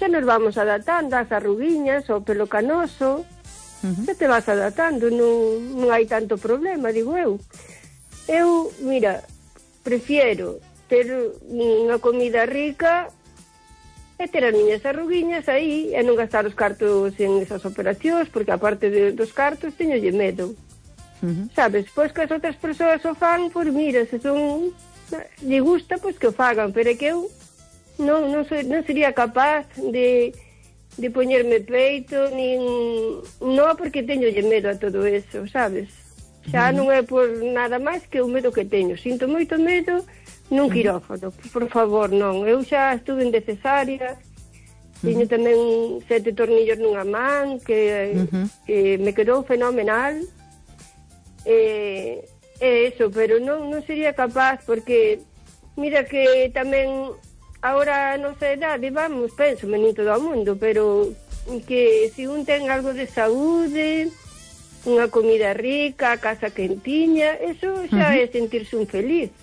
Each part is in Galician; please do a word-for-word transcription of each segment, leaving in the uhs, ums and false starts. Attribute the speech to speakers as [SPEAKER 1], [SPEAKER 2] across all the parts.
[SPEAKER 1] xa nos vamos adaptando ás arruguiñas, ao pelo canoso, uh-huh. xa te vas adaptando, non, non hai tanto problema, digo eu. Eu, mira, prefiero ter unha comida rica e ter as miñas arruguiñas aí e non gastar os cartos en esas operacións, porque aparte de, dos cartos teñolle medo. Uh-huh. Sabes, pois que as outras persoas o fan, pois mira, se son lle gusta, pois que o fagan, pero é que eu non, non, so, non sería capaz de, de poñerme peito, nin non porque teñolle medo a todo eso, sabes? Xa non é por nada máis que o medo que teño. Sinto moito medo nun quirófano, por favor, non. Eu xa estuve en cesárea, teño tamén sete tornillos nunha man, que, uh-huh. que me quedou fenomenal. É eh, eso, pero non, non sería capaz, porque mira que tamén agora a nosa edade, vamos, penso, nin todo o mundo, pero que se un ten algo de saúde, unha comida rica, a casa quentiña, eso xa uh-huh. é sentirse un feliz,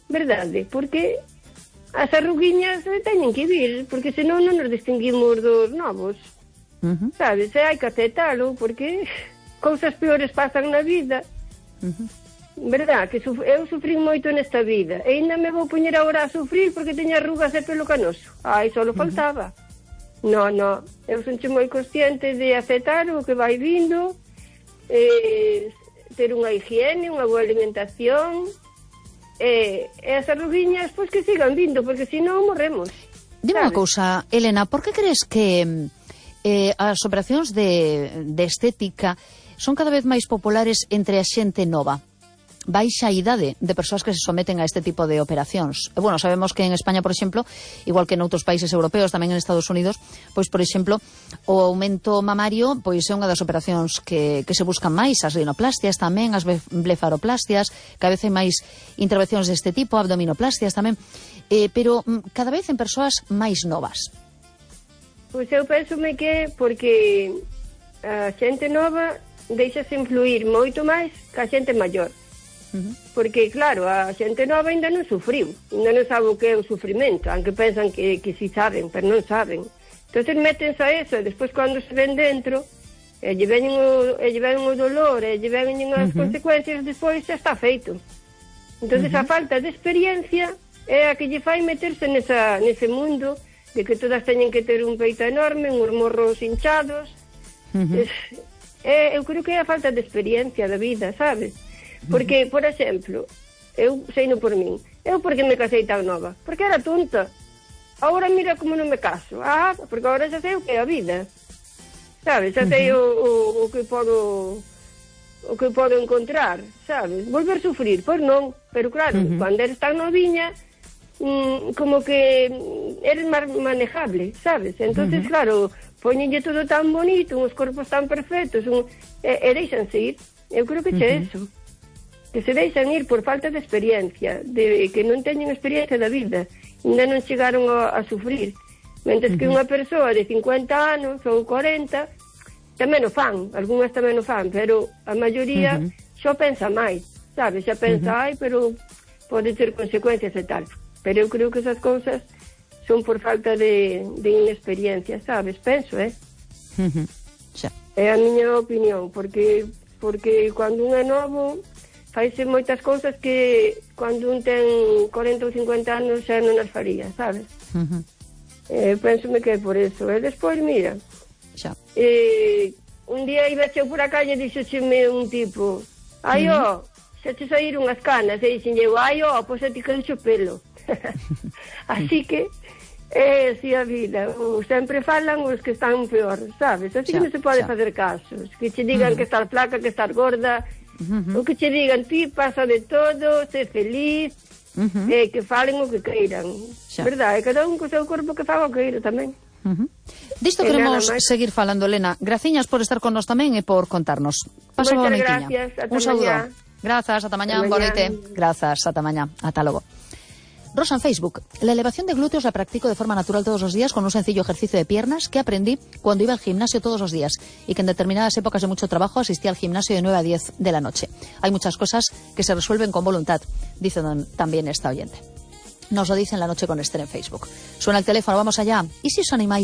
[SPEAKER 1] verdade? Porque as arruguiñas teñen que vir, porque senón non nos distinguimos dos novos, uh-huh. sabes? E hai que aceptalo, porque cousas peores pasan na vida, uh-huh. verdad? Que suf- eu sufrín moito nesta vida, e ainda me vou poñer agora a sufrir porque teño arrugas e pelo canoso. Ai, só lo faltaba. Uh-huh. No, no, eu sonche moi consciente de aceptar o que vai vindo, Eh, ter unha higiene, unha boa alimentación, eh, e as arruguiñas pois que sigan vindo, porque senón morremos.
[SPEAKER 2] Dime unha cousa, Elena, por que crees que eh, as operacións de, de estética son cada vez máis populares entre a xente nova? Baixa idade de persoas que se someten a este tipo de operacións. E, bueno, sabemos que en España, por exemplo, igual que en outros países europeos, tamén en Estados Unidos, pois, por exemplo, o aumento mamario pois é unha das operacións que, que se buscan máis, as rinoplastias tamén, as blefaroplastias, cada vez hai máis intervencións deste tipo, abdominoplastias tamén, eh, pero cada vez en persoas máis novas.
[SPEAKER 1] Pois eu pensome que porque a xente nova deixase influir moito máis que a xente maior. Uh-huh. Porque, claro, a xente nova ainda non sufriu, ainda non sabe o que é o sufrimento, aunque pensan que, que si saben, pero non saben. Entonces métense a eso, e despois cando se ven dentro, e lle ven o, e lle ven o dolor, e lle ven as uh-huh. consecuencias, despois xa está feito. Entonces uh-huh. a falta de experiencia é a que lle fai meterse nesa, nese mundo de que todas teñen que ter un peito enorme, uns morros hinchados. Uh-huh. Es, é, eu creo que é a falta de experiencia da vida, sabes? Porque, por exemplo, eu sei no por min, eu porque me casei tan nova? Porque era tonta. Agora mira como non me caso. Ah, porque agora xa sei o que é a vida. Sabes, xa sei o, o, o que podo o que podo encontrar, sabes? Volver a sufrir, pois non. Pero claro, uh-huh. cando eres tan noviña, mmm, como que eres máis manejable, sabes? Entonces, uh-huh. claro, poñenlle todo tan bonito, uns corpos tan perfectos, un, e, e deixanse ir. Eu creo que che uh-huh. eso. Que se deixan ir por falta de experiencia, de que non teñen experiencia da vida, ainda non chegaron a, a sufrir. Mentres uh-huh. que unha persoa de cincuenta anos ou cuarenta tamén o fan, algunhas tamén o fan, pero a maioría uh-huh. xa pensa máis, sabes? Xa pensa, uh-huh. ai, pero pode ter consecuencias e tal. Pero eu creo que esas cousas son por falta de, de inexperiencia, sabes? Penso, eh?
[SPEAKER 2] Uh-huh. Xa.
[SPEAKER 1] É a miña opinión, porque porque cando un é novo faise moitas cousas que cando un ten cuarenta ou cincuenta anos xa non as faría, sabes? Uh-huh. Eh, pensome que é por eso. E despois, mira,
[SPEAKER 2] xa.
[SPEAKER 1] Eh, un día iba eu por a calle e dixocheme un tipo, ai, ó, uh-huh. xa te saíron as canas, e dixen eu, ai, ó, pois a ti querecho pelo. Así que é así a vida. O, sempre falan os que están peor, sabes? Así xa, que non se pode xa. facer casos. Que che digan uh-huh. que estar flaca, que estar gorda, uh-huh. o que che digan, ti pasa de todo, sé feliz, uh-huh. eh, que falen o que queiran, xa. Verdad? E cada un co seu corpo que faga o que queira tamén.
[SPEAKER 2] Uh-huh. Disto e queremos seguir falando, Elena. Graciñas por estar con nos tamén e por contarnos. Paso boa noitiña.
[SPEAKER 1] Gracias, ata
[SPEAKER 2] un saúdo.
[SPEAKER 1] Mañá.
[SPEAKER 2] Grazas, ata mañá, boa noite. Grazas, ata mañá. Ata logo. Rosa en Facebook. La elevación de glúteos la practico de forma natural todos los días con un sencillo ejercicio de piernas que aprendí cuando iba al gimnasio todos los días y que en determinadas épocas de mucho trabajo asistía al gimnasio de nueve a diez de la noche. Hay muchas cosas que se resuelven con voluntad, dice también esta oyente. Nos lo dice en La Noche con Esther en Facebook. Suena el teléfono, vamos allá. ¿Y si os animáis